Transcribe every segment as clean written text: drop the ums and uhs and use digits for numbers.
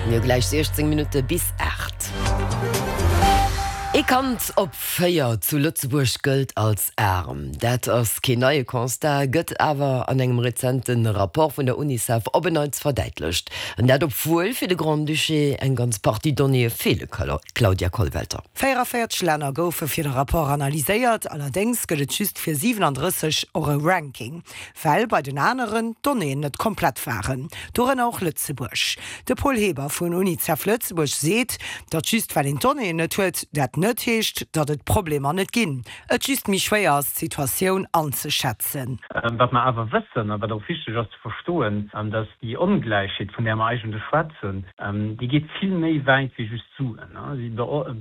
Mir hu gläich 16 Minutte bis 8. Ee Kand op 4 zu Lëtzebuerg gëllt als aarm. Dat ass keen neie Constat, gëtt awer an engem rezente Rapport vun der Unicef op en Neits verdäitlecht. An dat obwuel fir de Grand-Duché eng ganz Partie Donnéeë feele, Claudia Kollwelter. 44 Länner goufe fir de Rapport analyséiert, allerdéngs gëtt et just fir 37 och e Ranking. Well bei den aneren d'Donnéeën net komplett waren, dorënner och Lëtzebuerg. De Paul Heber vun Unicef Lëtzebuerg seet, datt just well een d'Donnéeën net huet, dat net heescht, datt et Problemer net ginn, et just méi schwéier ass, d'Situatioun anzeschätzen. Wat mer awer wëssen a wat och wichteg ass ze verstoen, datt déi Ongläichheet, vun där mer eigentlech schwätzen, déi geet vill méi wäit wéi just d'Suen. Si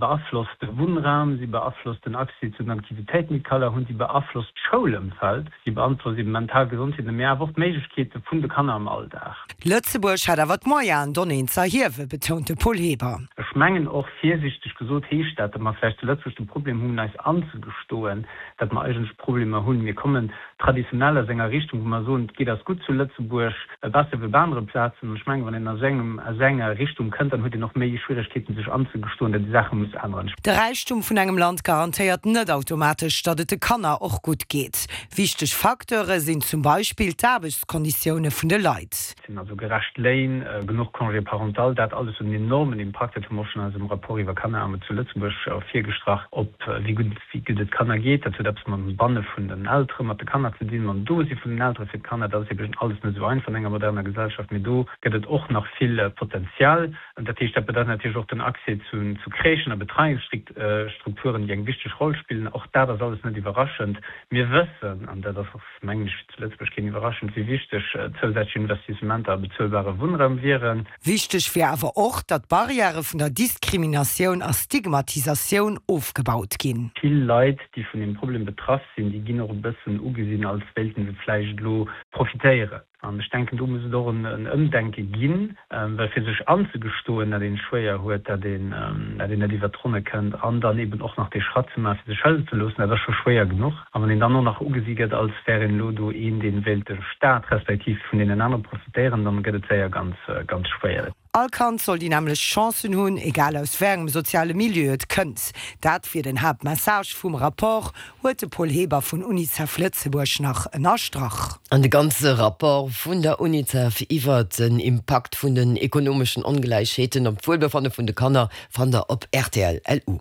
beaflosst de Wunnraum, si beaflosst den Accès zu den Aktivitéiten, déi d'Kanner hunn, si beaflosst d'Schoulëmfeld. Si beantwortet eben mental Gesondheet, mee awer och d'Méiglechkeete vun de Kanner am Alldag. Lëtzebuerg hätt awer d'Moyenen, Donnéeën ze erhiewen, betount de Paul Heber. Ech mengen och, virsiichteg gesot, heescht dat, datt mer vläicht zu Lëtzebuerg de Problem hunn, eis anzegestoen, datt mer eigentlech Problemer hunn. Mir kommen traditionell aus enger Richtung, wou mer soen, et geet eis gutt zu Lëtzebuerg, besser wéi op anere Plazen. An ech mengen, wann een aus engem, aus enger Richtung kënnt, dann huet een och méi Schwieregkeeten, sech anzegestoen, datt ee Saache muss änneren. De Räichtum vun engem Land garantéiert net automatesch, datt et de Kanner och gutt geet. Wichteg Facteure sinn zum Beispill d'Aarbechtskonditioune vun de Leit. Sinn also gerecht Léin, genuch Congé parental, dat alles huet en enormen Impakt, dat hu mer och schonn an eisem Rapport iwwer Kanneraarmut zu Lëtzebuerg ervirgestrach, op wéi gutt wéi gutt et Kanner geet. Dat huet eppes mam Banne vun den Eltere mat de Kanner ze dinn, mam Dosi vun den Eltere fir d'Kanner. Dat ass eben alles net esou einfach an enger moderner Gesellschaft, mee do gëtt et och nach vill Potenzial. Dat heescht, dat bedeit natierlech och den Accès zu Crèchen a Betreiungsstrukturen, déi eng wichteg Roll spillen. Och dat ass alles net iwwerraschend. Mir wëssen, an dat ass och, mengen ech, zu Lëtzebuerg keen iwwerraschend, wéi wichteg zousätzlech Investissementer a bezuelbare Wunnraum wieren. Wichteg wier awer och, datt d'Barrièrë vun der Diskriminatioun a Stigmatisatioun ofgebaut ginn. Vill Leit, déi vun deem Problem betraff sinn, déi ginn och e bëssen ugesinn, als wéilten se vläicht elo profitéieren. An ech denken, do muss et och en Ëmdenke ginn, well fir sech anzegestoen, datt een et schwéier huet, datt een, datt een net iwwert d'Ronne kënnt an dann eben och nach dee Schratt ze maachen, fir sech hëllefen ze loossen, dat ass scho schwéier genuch. A wann een dann och nach ugesi gëtt, als wär een elo do een, dee wéilt de Staat respektiv vun deenen anere profitéieren, dann gëtt et séier ganz, ganz schwéier. All Kand soll déi nämmlecht Chancen hunn, egal aus wéi engem soziale Milieu et kënnt. Dat wier den Haaptmessage vum Rapport, huet de Paul Heber vun Unicef Lëtzebuerg nach ënnerstrach. An de ganze Rapport vun der Unicef iwwert den Impakt vun den ekonomeschen Ongläichheeten op d'Wuelbefanne vun de Kanner Fannt der op rtl LU.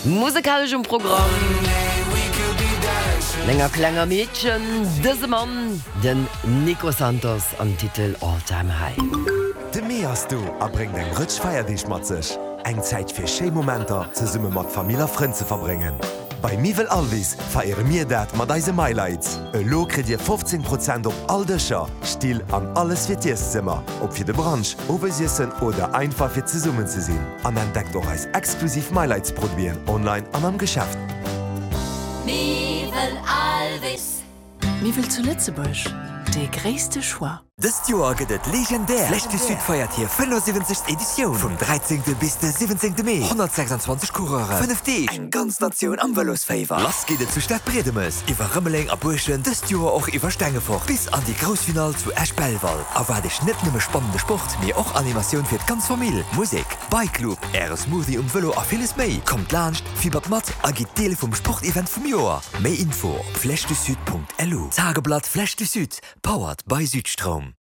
Musekalesch um Programm enger klenger Meedchen, dëse Mann, den Nico Santos am Titel All Time High. De Mee ass do a bréngt eng Rëtsch Feierdeeg mat sech. Eng Zäit fir schéi Momenter zesumme mat Famill a Frënn ze verbréngen. Bei Miwwel Alvis feiere mir dat mat eise MyLights. Elo kritt Dir 15 Prozent op all Dëscher, Still an alles fir d'Ieszëmmer, ob fir de Brunch, Owesiessen oder einfach fir zesummen ze sinn. An entdeckt och eis exklusiv MyLights Produiten online an am Geschäft. Miwwel Alvis. Miwwel zu Lëtzebuerg, dee gréisste Choix. Dëst Joer gëtt et legendär! D'Flèche du Sud feiert hir 75. Editioun vum 13. bis de 17. Mee. 126 Coureuren, 5 Deeg, eng ganz Natioun am Vëlosféiwer. Lass geet et zu Stadbriedemes, iwwer Rëmeleng a Buerschent, dëst Joer och iwwer Stengefort bis an déi grouss Finall zu Esch-Belval. Erwaart Iech net nëmme spannende Sport, mee och Animatioun fir d'ganz Famill, Musek, Bike Loop, Äre Smoothie um Vëlo a villes méi. Kommt laanscht, fibbert mat a gitt Deel vum Sportevent vum Joer. Méi Info op flèchedusud.lu. Tageblatt Flèche du Sud, Powered by Südstroum.